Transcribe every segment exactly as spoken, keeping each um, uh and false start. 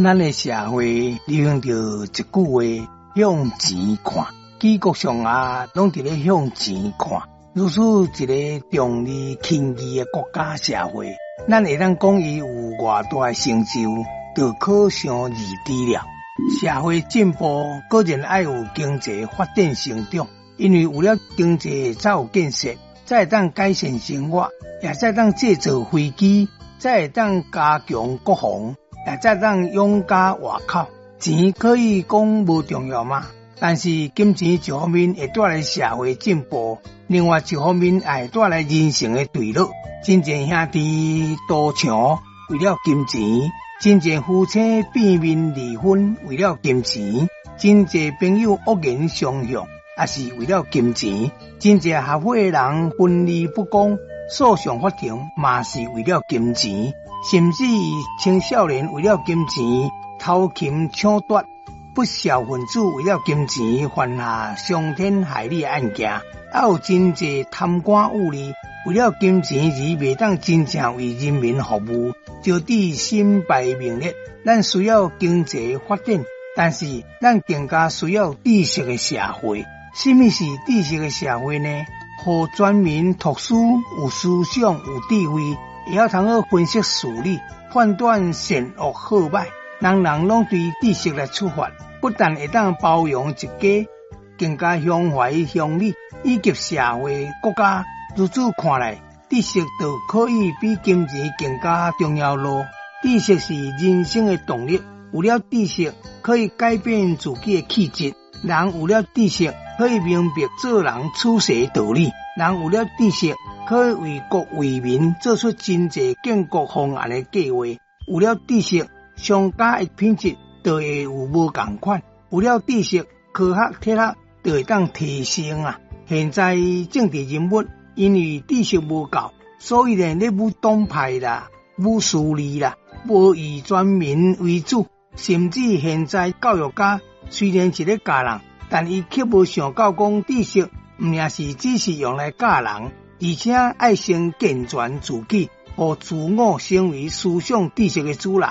咱的社會流行著一句話：向錢看。舉國上下攏佇咧向錢看。如此一个重利輕義的國家社會，咱會當講伊有偌大的成就，就可想而知了。社會進步，固然愛有經濟發展成長，因為有了經濟才有建設，才會當改善生活，也才會當製造飛機，才會當加強國防，也才會當養家活口。錢可以講無重要嗎？但是金錢一方面會帶來社會進步，另外一方面也會帶來人性的墜落。真濟兄弟賭場為了金錢，真濟夫妻變面離婚為了金錢，真濟朋友惡言相向也是為了金錢，真濟合夥的人分利不公，訴訟法庭嘛是為了金錢，甚至青少年為了金錢偷擒搶奪。不肖分子為了金錢犯下傷天害理的案件，還有真濟貪官污吏為了金錢而袂當真正為人民服務，招致身敗名裂。咱需要經濟發展，但是咱更加需要知識的社會。什麼是知識的社會呢？予全民讀書、有思想、有智慧，會曉通好分析事理、判斷善惡好歹。人人攏對知識來出發，不但會當包容一家，更加胸懷鄉里以及社會國家。如此看來，知識就可以比金錢更加重要囉。知識是人生的動力，有了知識可以改變自己的氣質。人有了知識，可以明白做人處世道理。人有了知識，可以為國為民做出真濟建國方案的計劃。有了知識，商家的品質就會有無仝款。有了知識，科學體育就會當提升啊！現在政治人物因為知識無夠，所以呢，咧舞黨派啦，舞私利啦，無以全民為主。甚至現在教育家雖然是咧教人，但伊卻無想到講知識毋爾是只是用來教人，而且愛先健全自己，予自我成為思想知識的主人。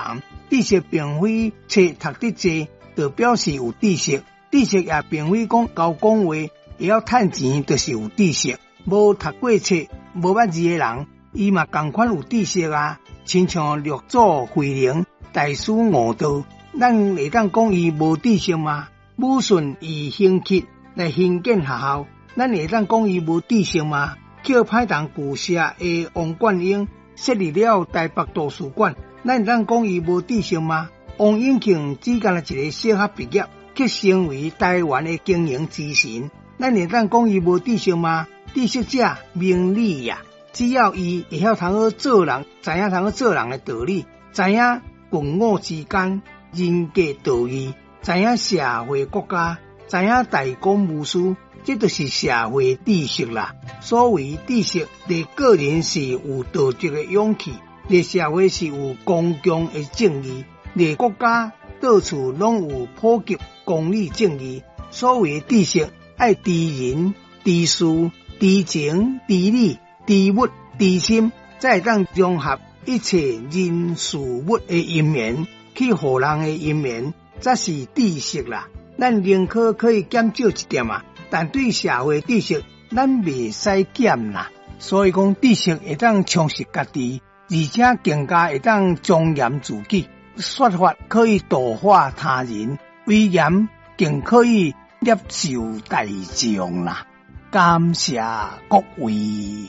知識並非冊讀得濟，就表示有知識；知識也並非講𠢕講話會曉趁錢，就是有知識。無讀過冊、無捌字的人，伊嘛仝款有知識啊。親像六祖慧能大師悟道，咱會當講伊無知識嗎？武順以興契來興建學校，咱會當講伊無知識嗎？叫歹人拒殺的王貫英設立了台北圖書館，咱會當講伊無知識嗎？王永慶只干焦一个小學畢業，卻成為台灣的經營之神，咱會當講伊無知識嗎？知識者明理也，只要伊會曉通好做人，知影通好做人的道理，知影君我之間人格道義，知影社會國家，知影大公無私，這就是社會知識啦。所謂知識，佇個人是有道德的勇氣，佇社會是有公共的正義，佇國家到處攏有普及公理正義。所謂知識，愛知人、知事、知情、知理、知物、知心，才會當融合一切人事物的因緣，去予人的因緣，才是知識啦。咱寧可可以減少一點仔，但對社會知識，咱袂使減啦。所以講，知識會當充實家己，而且更加會當莊嚴自己。說法可以度化他人，威嚴更可以攝受大眾啦。感謝各位。